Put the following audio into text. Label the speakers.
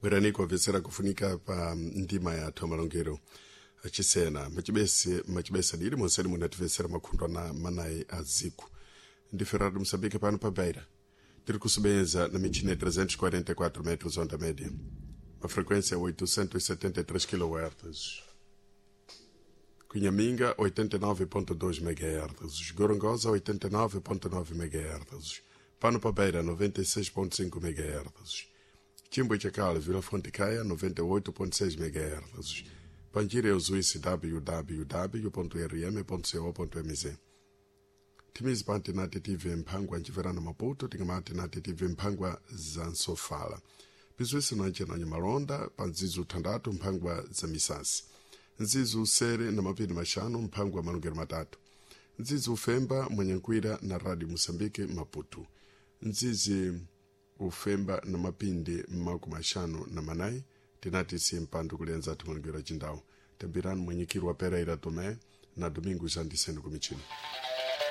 Speaker 1: Bwerani kuwapfesera kufunika pa ndima yathu amalongero achisena machibese machibesa dili monseni munatifesera makhundwa na manayi a ziku. Ndi Rádio Moçambique pano pa Beira. Tiri kusubenza na michina 344 metros onda média. A frequência 873 kHz. Cunhaminga 89.2 MHz, Gorongosa 89.9 MHz, Pano pa Beira 96.5 MHz, Chimbo Chakala Vila Fonte Caia 98.6 MHz, Panjira Uzuíce www.rm.co.mz. Timizi pa Antenate TV Mphangwa nchiverano Maputo, tingama Antenate TV Mphangwa za Nsofala. Bizwese nanche malonda pa nzizu thandatu mphangwa za misasi. Nzizu usere na mapiri mashanu mphangwa malungero matatu. Nzizi ufemba mwenyenkwira na Radio Mosambike Maputo. Nzizi ufemba na mapindi maku mashanu na manayi tinati si mpandu kulenza timalungero achindawu. Tambirani mwenyekiri wa Pereira Tomé na Domingos Andiseno kumichini.